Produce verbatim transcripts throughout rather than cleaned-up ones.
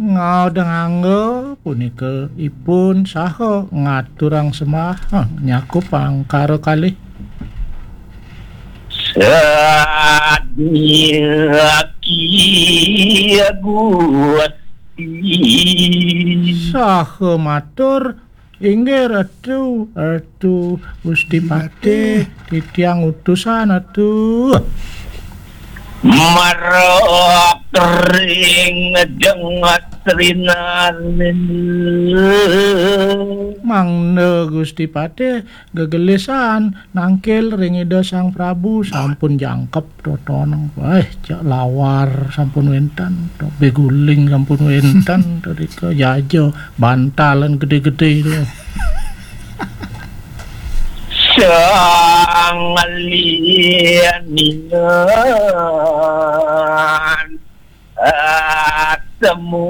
Ngaudengangga punika ipun saha ngaturang sembah, ha, nyakup angkara kalih. Sadyaki Gusti. Saha matur, "Inggih Ratu, Ratu Gusti Patih, titiang utusan Ratu." Marok ring jengat rinarin. Mangda Gusti Patih gegelisan nangkil ring Ida Sang Prabu, sampun jangkep totoneng. Wah, cak lawar sampun wénten, to beguling sampun wénten, to rika jaja bantalan gedé-gedé to. Sang lianingan atemu.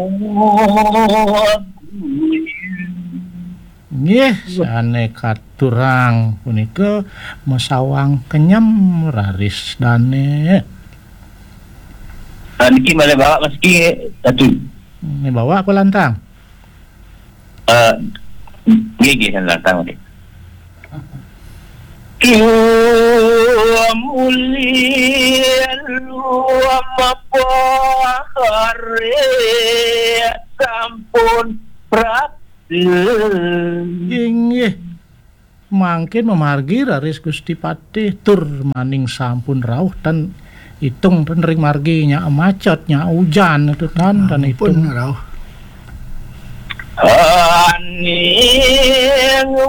Nggih, sané katurang punika masawang kenyem raris dané. Ah, niki malih bawak masiki, Ratu. Ini bawak apa lantang? Eh, nggih, nggih, lantang, nggih. Kiwa muli luam pahare sampun prapta. Inggih. Mangkin mamargi raris Gusti Patih tur maning sampun rauh tan itung tan ring margi nya macet nya ujan itu tan tan itung rauh. Aning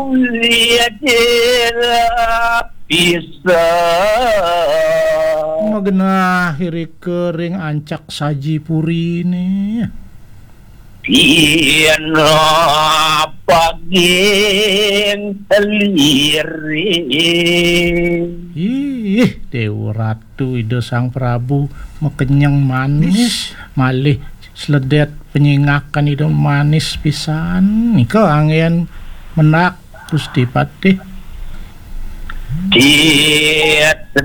wiadira bisa. Magenah irika ring ancak saji purine. Pina paging liri. Ih, Dewa Ratu Ida Sang Prabu makenyeng manis, malih sledét penyingakan Ida manis pisan. Nika anggén mendak Gusti Patih. Titrian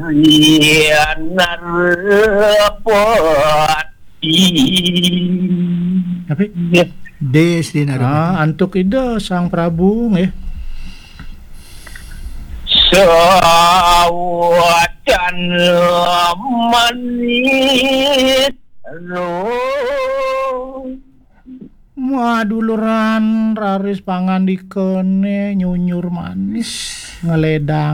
narepot. Tapi Nggih. Des di naruh. Ah, antuk Ida Sang Prabu nggih. Sawacan manis. Maduluran raris pangandikane nyunyur manis ngeledang